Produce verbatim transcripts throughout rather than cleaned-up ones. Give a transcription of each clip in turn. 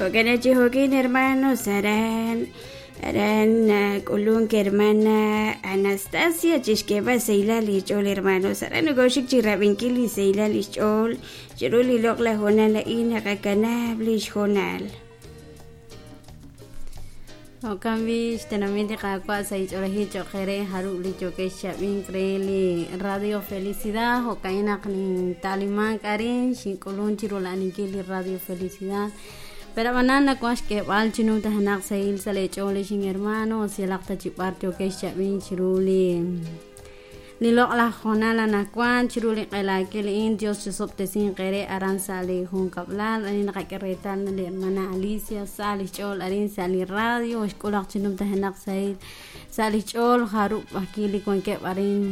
Jo'kan chi jo'kin hermanos aran aran k'ulunk hermana Anastasia chixk'eeb'al xsahilal li xch'ool hermanos aran nokoxik chi rab'inkil li xsahilal li xch'ool chiru li loq'laj hoonal a'in naqakanab' li xhoonal. Jo'kan b'i xtenamit li Qaawa' sa' ich'oolejil cho'q re jarub' li yookeb' xchab'ink re li Radio Felicidad jo'kan naq ninta'limank arin xink'ulun chi rula'aninkil li Radio Felicidad pero ab'anan nawank xk'eeb'al chi numtajenaq sahil sa' leech'ool lix hermano yalaq ta chi b'ar yookeb' xchab'ink chiru li li loq'laj hoonal anaqwan chiru li q'elaakil a'in Dios chisob'tesinq eere aran sa' li junkab'lal arin naqak'e reetal li hermana Alicia sa' li xch'ool arin sa' li radio xk'ulaq chi numtajenaq sahil sa' li xch'ool jarub' ajkil li wankeb' arin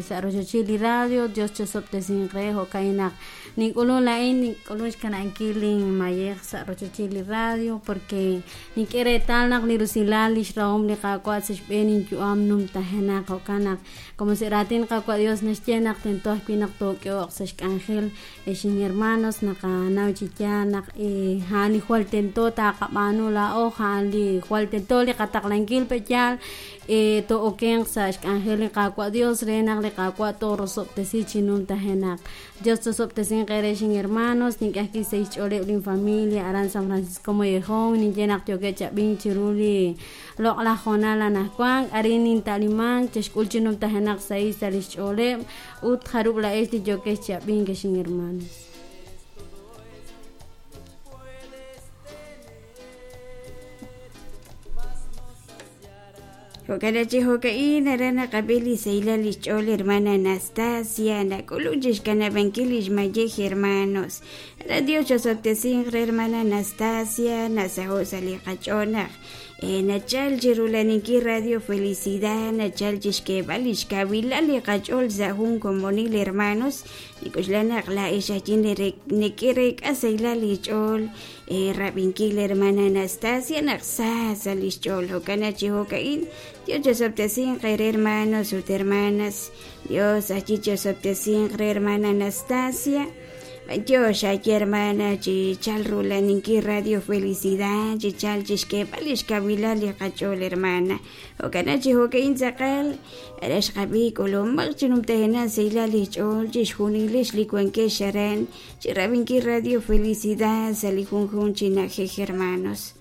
sa' rochochil li radio Dios chisob'tesinq re jo'kan naq nink'ulun la'in nink'ulun xkana'ankil linmayej sa' rochochil li radio porque nink'e reetal naq li rusilal li xrahom li Qaawa' sa' xb'een inyu'am numtajenaq jo'kan naq como se raatin Qaawa' Dios naxye naq tento ajwi' naq took'eho'q sa' xk'anjel xin hermanos naqanaw chi yaal naq a'an li jwal tento taqab'aanu laa'o a'an li jwal tento li qataqlankil pe' yaal to'okenq sa' xk'anjel li Qaawa' Dios re naq li Qaawa' toorosob'tesi chi numtajenaq Dios tosob'tesinq eere xin hermanos nink'e ajwi' sa' xch'ooleb' linfamilia aran San Francisco Mollejón ninye naq yookeb' chab'ink chiru li loq'laj hoonal anaqwan arin ninta'limank chexk'ul chi numtajenaq sahil sa' li xch'ooleb' ut jarub' la'ex li yookeb' chab'ink xin hermanos. Jo'kan chi jo'ka'in aran naqab'i li xsahilal li xch'ool hermana Anastasia nak'ulun chi xkanab'ankil li xmayej hermanos aran Dios chosob'tesinq re hermana Anastasia nasaho' sa' li qach'ool naq nachal chi rulaninkil Radio Felicidad nachal chi xk'eeb'al li xkawilal li qach'ool sa' jun komonil hermanos nik'uxla naq la'ex ajin neke'reek'a sahilal li xch'ool rab'inkil hermana Anastasia naq sa sa' li xch'ool jo'kan chi jo'ka'in Dios chosob'tesinq re hermanos ut hermanas Dios achi chosob'tesinq re hermana Anastasia Dios achi hermana chi chal rulaninkil Radio Felicidad chi chal chi xk'eeb'al li xkawilal li qach'ool hermana jo'kan chi jo'ka'in tz'aqal ara xqab'i k'ulumaq chi numtajenaq sahilal li xch'ool chi xjunilix li wankex aran chi rab'inkil Radio Felicidad sa' li junjun chi na'ajej hermanos.